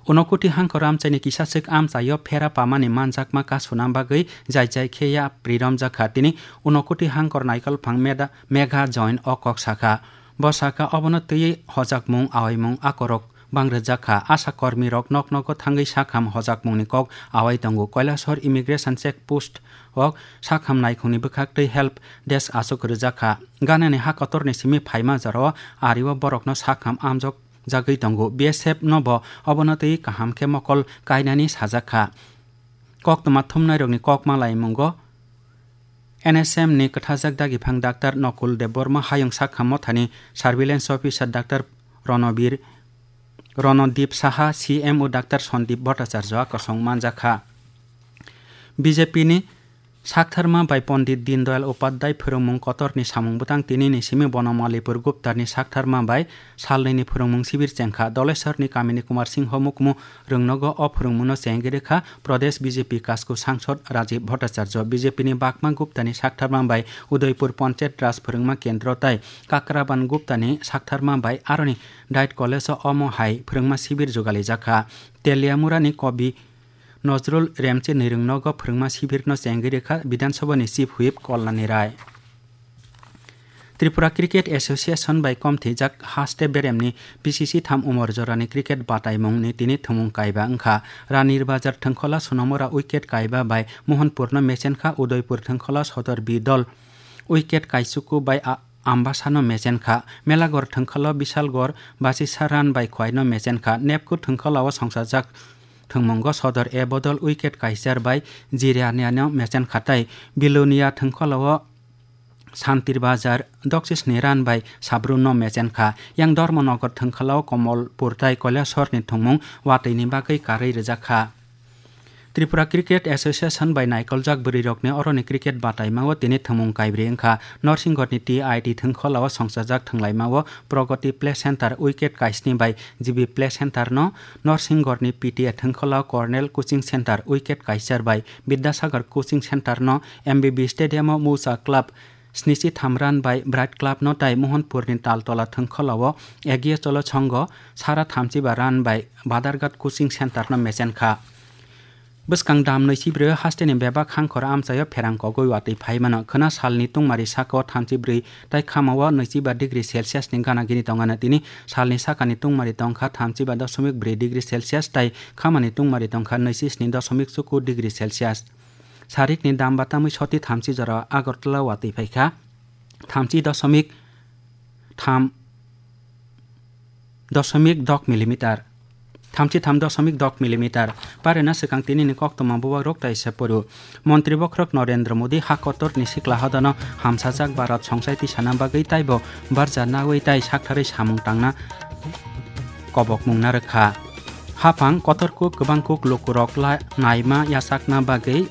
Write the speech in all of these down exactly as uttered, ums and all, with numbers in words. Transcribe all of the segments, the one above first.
Unokuti hangkor amchaini kisaswk amchaio phera pamani manjakma kasuna bagwi jai jai khe ya pri romjakha. Tini Unokuti hangkor naikolphang meda-, Megha Join o kok sakha. Bo sakha, obono twiwi hojakmung, awaimung akorok bang rwjakha. Asha kormirok nok nogo thangwi sakham hojakmungni kok awai tongo. Kailasor Immigration Check Post o sakham naikhungni bwkhak tei help desk achuk rwjakha. Ganani ha kotorni simi phaima jorao ario borokno sakham amjok jagwi tongo. B S F no bo obono twi kaham khe mokol kainani sajakha. Koktwma thumnairokni kok malaimungo N S M ni kwthajak dagiphang Doctor Nokul Debbarma hayung sakha mothani surveillance officer Doctor Ronobir, Ronodip Saha, C M O Doctor Sandip Bhattacharya kosong manjakha. B J P ni Saktharma bai Pondit Dindayal Upadhyay phwrwngmung kotorni samung bwtang tinini simi bono Malipur Guptani saktharma bai salnwini phwrwngmung sibir chengkha. Dolesarni kamini Kumar Singho Mukmu rwngnogo o phwrwngmungno chengwi rwkha Pradesh B J P Kasku Sangsod Rajiv Bhattacharya. B J P ni Bakma Guptani saktharma bai Udaipur Panchayat Raj phwrwngma kendro tai Kakraban Guptani saktharma bai aroni Diet College o omo hai phwrwngma sibir jugalijakha. Teliamurani Kobi Nojrul Remchini rwngnogo phwrwngma sibirno chengwi rwkha Bidhan Sabhani Chief Whip Kalani Rai. Tripura Cricket Association bai komthijak haste beremni B C C tham umor jorani cricket bataimungni tini thwngmung kaiba wngkha. Ranir Bazar thwngkhola Sonomora wicket kaiba bai Mohanpurno mechenkha, Udaipur thwngkhola Sodor B dol wicket kaichuku bai a-, Ambasano mechenkha. Melagor thwngkhola Bisalgor Basisa run bai Khwaino mechenkha. Nepku thwngkholao songsajak thwngmungo Sodor A bodol wicket kaichar bai Jiraniano mechenkha tai Bilonia thwngkholao Santir Bazar doksisni run bai Sabruno mechenkha. Yang Dharmanagar thwngkholao Komolpur tai Kailasorni thwngmung watwini bagwi karwi rwjakha. Tripura Cricket Association bai naikoljak bwrwirokni oroni cricket bataimao tini thwngmung kaibrwi wngkha. Norsingorni T I T thwngkholao songsajak thwnglaimao Pragati Play Center wicket kaisni bai G B Play Center no, Norsingorni P T A thwngkholao Cornell Coaching Center wicket kaichar bai Bidyasagar Coaching Center no, M B B Stadium o Musa Club snichi tham run bai Bright Club no tai Mohanpurni Taltola thwngkholao Egiye Cholo Chhongo sara thamchiba run bai Badarghat Coaching Center no mechenkha. Bwskang dam nwichibrwi hasteni bebak hangkhor amchaio pherang kogwi watwi phaimano. Khwna salni tungmari sakao thamchibrwi tai khamao nwichiba degree Celsius ni gana gini tongano. Tini salni sakani tungmari tongkha thamchiba dosomik brwi degree Celsius tai khamani tungmari tongkha nwisisni dosomik chuku degree Celsius. Sarikni dam batamwi soti thamchi jora Agartala watwi phaikha thamchi dosomik tham dosomik dok milimeter, thamchi tham dosomik dok milimeter. Parina swkang tinini koktwma bubagrok taisa poro. Montri bokhorok Narendra Modi ha kotorni sikla hodano hamsajak Bharat songchai tisana bagwi taibo barja nawi tai saktharwi samung tangna kobokmung narwkha. Haphang kotorkuk kwbangkuk lukurok la-, naima yachakna bagwi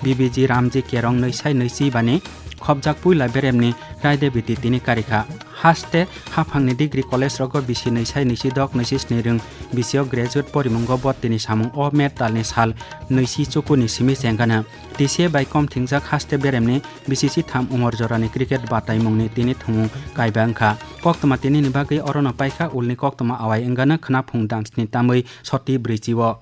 B B G Ramji Kerong nwisai nwichi bani khopjak puila beremni raidebiti tini karikha. Haste haphangni degree college rogo bisi nwisai nwichi dok nwichi sni rwng bisio graduate porimungo bo tini samung o May talni sal nwichi chukuni simi chengano. T C A bai kom thingjak haste beremni B C C tham umor jorani cricket bataimungni tini thwngmung kaiba wngkha. Koktwma tinini bagwi orono paikha ulni koktwma awai wngano khwnaphung damsni tamwi soti brwichi o.